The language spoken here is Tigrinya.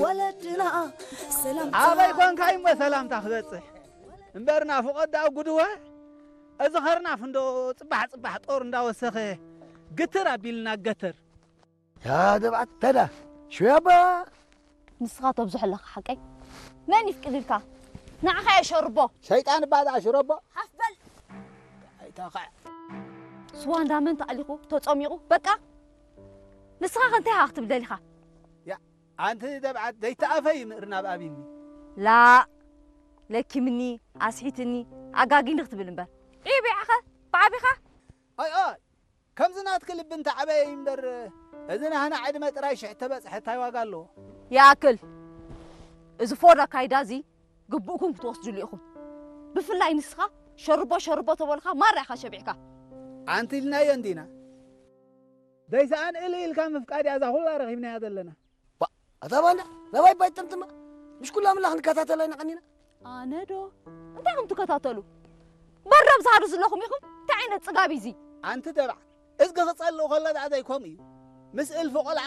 ወለድና ሰላምታ ኣበይ ኮንካ እሞ ሰላምታ ክበጽሕ እምበርና ፍቐድ ደኣ ጉድወ። እዚ ኸርናፍ እንዶ ጽባሕ ጽባሕ ጦር እንዳወሰኸ ግትር ኣቢልና ገተር። ያ ደብዓት ተዳ ሽያባ ንስኻ ተብዝሖ ኣለኻ ሓቀይ። መን ይፍቅድልካ? ንዓኻ እየ ሸርቦ። ሸይጣን እባ ደኣ ሽረቦ። ሓፍ በል። ኣይታኻ። ስዋ እንዳመን ተኣሊኹ ተጸሚቑ በቃ። ንስኻ ከ እንታይ ኢኻ ክትብል ደሊኻ? ያ ኣንቲ ደብዓት ዘይተኣፈይ ምእርና ብኣብኒ። ላ ለኪምኒ ኣስሒትኒ ኣጋጊኒ ክትብል እምበር። ዒብ ኢኻ ብዓቢኻ። ኣይ ኣይ ከምዚ ናትኪ ልቢ እንተዓበየ እዩ እምበር፣ እዚ ናህና ዕድመ ጥራይ ሽሕ ተበጽሐ እንታይ ዋጋ ኣለዎ? ይኣክል። እዚ ፎር ኣካይዳ እዚ ግቡእኩም ክትወስድሉ ኢኹም። ብፍላይ ንስኻ ሸርቦ ሸርቦ ተበልካ ማራ ኢኻ ሸቢዕካ። ኣንቲ ኢልናዮ እንዲና። ደይሰኣን እል ኢልካ ምፍቃድ እያ እዛ ኩላ ረኺብናያ ዘለና። ባ፣ ኣታ ባንዳ፣ ናባይ ባይ ጥምጥማ። ምሽ ኩላ ምላ ክንከታተላ ኢና ቀኒና። ኣነ ዶ? እንታይ ኢኹም ትከታተሉ? በረብ ዝሃሩ ዘለኹም ኢኹም። እንታይ ዓይነት ጽጋብ እዩ እዚ? ኣንቲ ደብዓ፣ እዝጊ ክጸልእ ከሎ ደኣ ዘይከምኡ እዩ። ምስ እልፊ ቆልዓ